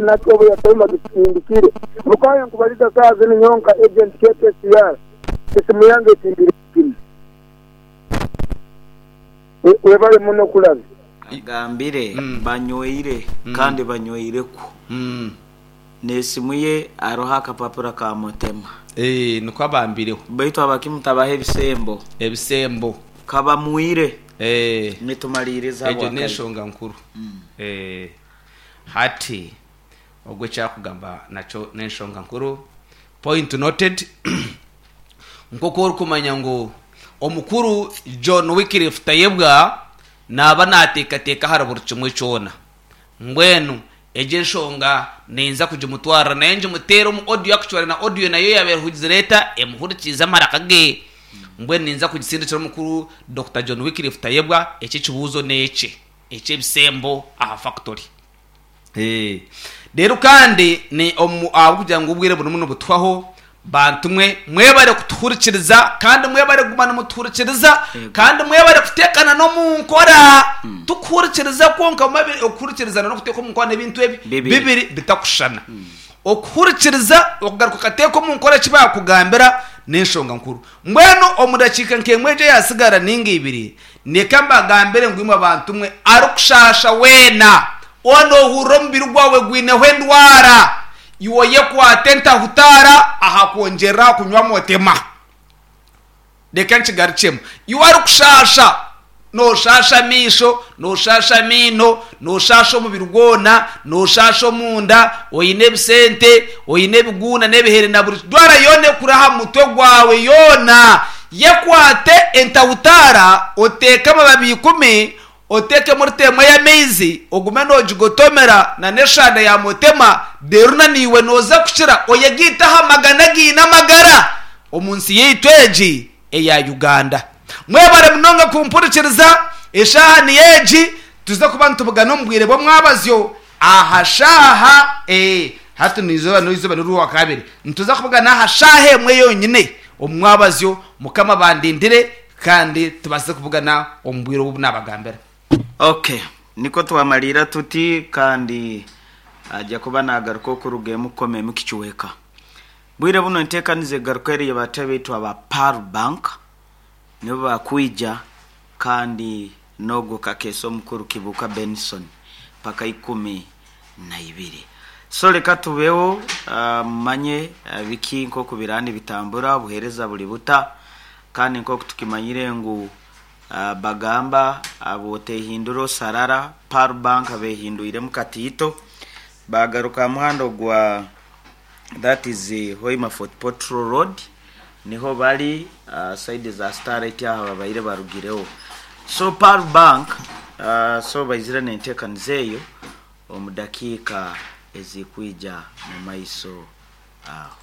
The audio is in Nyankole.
nakyo obu yatayo bagisindikire. Mukaaye nkubaliza saaha zinu nyowe nka agent KKCR esimu yange etimbire sigimu. Webale muno kulabya. Agambire banyweire kandi banyweireku. N'esimu ye aroho akapapura ka Mutema. Eeh nikwo abambireho. Baitu abakimu tabaha ebisembo. Ebisembo. Kabamwire. Eeh. Nitumaliiriza Egyo habwa kaire. n'enshonga nkuru. Eeh. Hati ogwo eki arikugamba nakyo n'enshonga nkuru. Point noted. Nk'oku orikumanya ngu omukuru John Wycliffe Tayebwa naaba naateekateeka ahari buri kimwe kyona. Mbwenu egyo enshonga ninza kugimutwarira nayo ngimuteere omu audio actually na audio nayo yaaba erihugizire eta emuhurikiize amaraka ge. Mbwenu ninza kugisindikira omukuru Dokita John Wycliffe Tayebwa eki ekibuuzo n'ekye eky'ebisembo aha factory. Reero kandi ni omu ahabw'okugira ngu obwire burimu nibutuhwaho, bantu mwe mwebare kutuhurikiriza kandi mwebare kuguma nimutuhurikiriza kandi mwebare kuteekana n'omu nkora. Tikuhurikiriza kwonka okuhurikirizana n'okuteeka omu nkora n'ebintu ebi Bibiri. bibiri bitakushushana. Okuhurikiriza okugaruka okateeka omu nkora eki baakugambira n'enshonga nkuru. Mbwenu omu dakiika nk'emwe egyo eyaatsigara nainga ibiri, Ndeka mbagambire ngu imwe bantu mwe, arikushaasha weena, waaba noohurira omubiri gwawe gwineho endwara, iwe oyekwate entahutaara aha kwongyerera aha kunywa motema. Reka nkigarukyemu. Iwe arikushaasha, nooshaasha amaisho, nooshaasha amaino, nooshaasha omubiri gwona, nooshaasha omunda, oine ebisente, oine ebiguuna n'ebihere na buri ndwara yoona ekuri aha mutwe gwawe yoona, Yekwate entahutaara, oteeke amababi ikumi, oteekemu rita emwe y'amaizi, ogume noogigotomera na n'eshanda ya motema, reero na naiwe nooza kukira oyegaite aha magana againe amagara omu nsi yaitu egi eya Uganda. Mwebare munonga kumpurikiriza, eshaaha niyo egi, tuze kuba nitubugana omu bwire bw'omwabazyo aha shaaha e, hati n'eizooba n'eizooba n'orwakabiri, nituza kubugana aha shaaha emwe yonyine. Omu mwabazyo, Mukama abandindire, kandi tubaase kubugana omu bwire obu naabagambira. Ok, nikwo twamariira tuti, kandi aja kuba naagaruka okuruga emukoma emu kicweka. Bwire buno enteekaniza egaruka eri y'abatebe baitu aba Pearl Bank nibo baakwija kandi n'ogwo Kakeeso omukuru Kibuuka Benson paka ikumi naibiri. So leka tubeho mumanye biki nkoku biraaba nibitambura, obuheereza buri buta, kandi nkoku tukimanyire ngu bagamba bwotehindura osarara, Pearl Bank behindwiremu katiito, bagaruka aha muhanda ogwa that is Hoima Fort Portal road niho bari side za Starlight aho babaire barugireho. So Pearl Bank so baizire nentekaniza eyo. omu dakiika ezirikwija mu maiso aho.